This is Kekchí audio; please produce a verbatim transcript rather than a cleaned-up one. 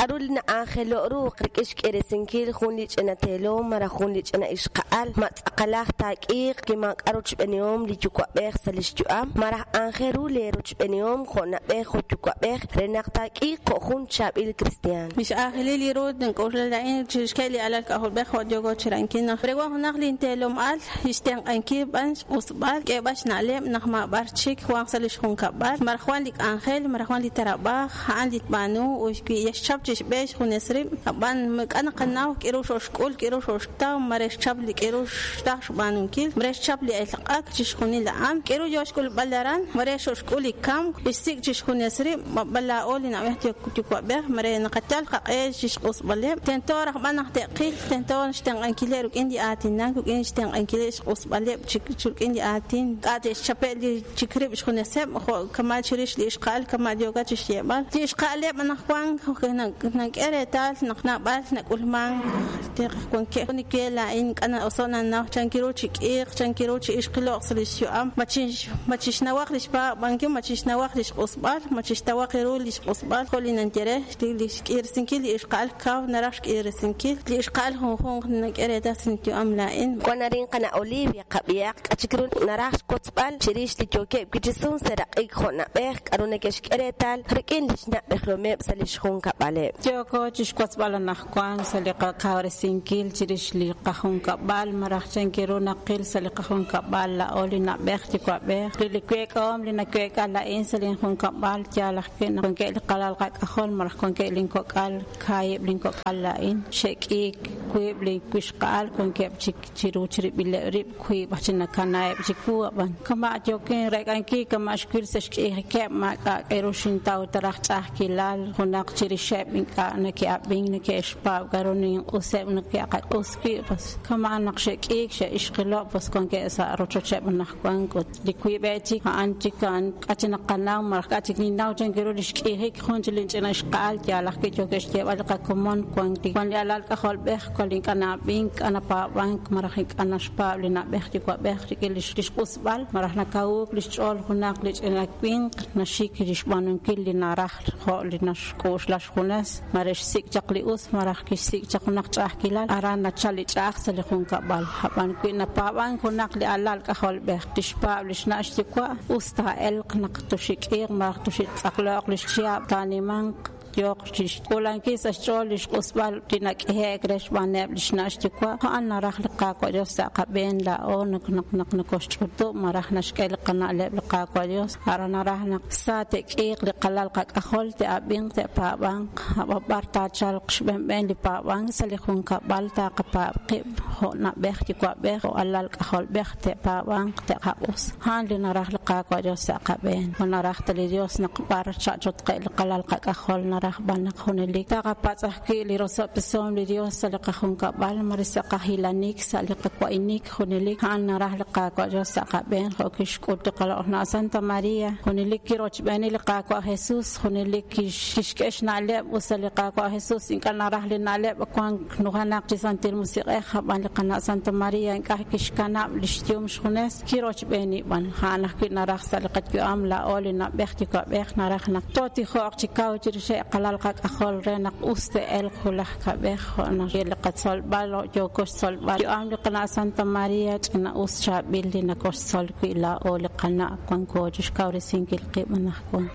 K'aru li na'anjelo' ru rik'in xk'irisinkil jun li ch'ina teelom malaj jun li ch'ina ixqa'al, ma tz'aqalaj taak'iiq wi maak'a' rochb'eenihom li yuwa'b'ej sa' li xyu'am, malaj aajel ru leerochb'eenihom jo' na'b'ej jo' yuwa'b'ej re naq taak'iiq jo' jun chaab'il kristiaan. Lix aajelil li ru nink'oxla laa'in chirixk'e li alal k'ajolb'ej jo' yooko chirankil naq re wan junaq linteelom al xtenq'ankil b'an xq'usb'al k'eeb'al xna'leb' naq maab'ar chik wanq sa' li xjunkab'al maraj wan li k'anjel maraj wan li tarab'aj a'an li tb'aanu ut wi yaxchap chi xb'e xjunes rib' ab'an k'a naqanaw k'iru xo'xk'ul k'iru xo'xtaw mare xchap li k'iru xtaj xb'aanunkil mare xchap li elq'ak chi xjunil a'an k'iru yo xk'ulb'al aran mare xo'xk'ul li kamk xsik' chi xjunes rib' b'ab'al laa'o li na'b'ej yuwa'b'ej mare naqayal qaq'e chi xq'usb'aleb' tento raj b'an naq te'qil tento xtenq'ankileb' rik'in li aatinak rik'in xtenq'ankileb' xq'usb'aleb' chik rik'in li aatin k'a' te'xchape' li chik rib' xjuneseb' jo' kama' chirix li ixqa'al kama' yoka chi xyeeb'al li ixqa'aleb' anaqwan nank'e reetal naq naab'al nak'ulmank wankeb' niwe laa'in k'a na'oso' nanaw chankiru chi k'iiq chankiru chi ixqilo'q sa' li xyu'am ma chixnawaq li xpaab'ankil ma chixnawaq li xq'usb'al ma chixtawaq ru li xq'usb'al jo' li nanyere li xk'irisinkil li ixqa'al kaw naraj xk'irisinkil li ixqa'al junjunq nank'e reetal sa' inyu'am laa'in. Wan arin qana' Olivia qab'ihaq k'a chik ru naraj xwotzb'al chirix li yookeb' wi' chi sun seraq'ik jo' na'b'ej k'aru neke'xk'e reetal rik'in li xna'b'ejlomeb' sa' li xjunkab'aleb'. Yooko chi xwotzb'al anaqwan sa' li qakawresinkil chirix li qajunkab'al maraj chankiru naqil sa' li qajunkab'al laa'o li na'b'ej yuwa'b'ej li li week'ahom li naweek'a laa'in sa' linjunkab'al yaal ajwi' naq wankeb' li qalal qak'ajol maraj wankeb' linkok'al kaahib' linkok'al laa'in xe'k'iik wiib' li wixqa'al wankeb' chik chiru chirib'ileb' rib' wiib' aj chi nakanaeb' chiwu ab'an kama' yookin reek'ankil kama' xwil sa' xk'iijikeb' maak'a' k'eru xintaw taraj ch'a'ajkilal junaq chirixeb' ink'a' neke'ab'ink neke'xpaab' k'aru ninq'useb' neke'qaq'us wi' pues kama' naq xe'k'iik xe'ixqilo' pues wankeb' sa' rochocheb' anaqwan ut li wiib'eb' chik a'an chik a'an k'a chi naqanaw maraj k'a chik ninnaw chankiru li xk'iijik jun chi linch'ina ixqa'al yaal ajwi' yookeb' xyeeb'al li qakomon wan li wan li alal k'ajolb'ej wan li ink'a' na'ab'ink k'a napaab'ank maraj ink'a' naxpaab' li na'b'ej yuwa'b'ej rik'in li xq'usb'al maraj nakawuuk li xch'ool junaq li ch'ina winq naxik li xb'aanunkil li naraj jo' li naxk'uxla xjunes mare xsik' chaq li us maraj kixsik' chaq junaq ch'a'ajkilal aran nachal li ch'a'aj sa' li junkab'al ab'an wi napaab'ank junaq li alal k'ajolb'ej tixpaab' li xna' xyuwa' us taa'elq naq tuxik'iiq maraj tuxitz'aqlo'q li xchihab' taanimanq yooq chi xk'uulankil sa' xch'ool li xq'usb'al li nak'ehe'k re xb'aaneb' li xna' xyuwa' a'an naraj li Qaawa' Dios sa' qab'een laa'o naq naq naq nokoxch'utub' maraj naxk'e li qana'leb' li Qaawa' Dios aran naraj naq sa te'k'iiq li qalal qak'ajol te'ab'inq te'paab'anq ab'ab'ar taachalq xb'enb'en li paab'ank sa' li junkab'al taaqapaab' qib' jo' na'b'ej yuwa'b'ej jo' alal k'ajolb'ej te'paab'anq te'qaq'us a'an li naraj li Qaawa' Dios sa' qab'een ma naraj ta li Dios naq b'ar cha'chotqe' li qalal qak'ajol naraj b'an naq junelik taqapatz' ajwi' li rosob'tesom li Dios sa' li qajunkab'al mare sa' qajilanik sa' li qawa'inik junelik a'an naraj li Qaawa' Dios sa' qab'een jo' kixk'ut li qaloq'na Santa Maria junelik kirochb'eeni li Qaawa' Jesus junelik kixk'e xna'leb' ut sa' li Qaawa' Jesus ink'a' naraj li na'leb' wank nujenaq chi Santil Musiq'ej ab'an li qana' Santa Maria ink'a' kixkanab' li xyum xjunes kirochb'eeni b'an a'an ajwi' naraj sa' li qayu'am laa'o li na'b'ej yuwa'b'ej naraj naq tootijo'q chi kaw chirixeb' qalal qak'ajol re naq us te'elq wulaj kab'ej jo' naq li qatzolb'al yooko xtzolb'al yu'am li qana' Santa Maria ch'ina us chaab'il li nakoxtzol wi' laa'o li qana' wanko chi xkawresinkil qib' anaqwan.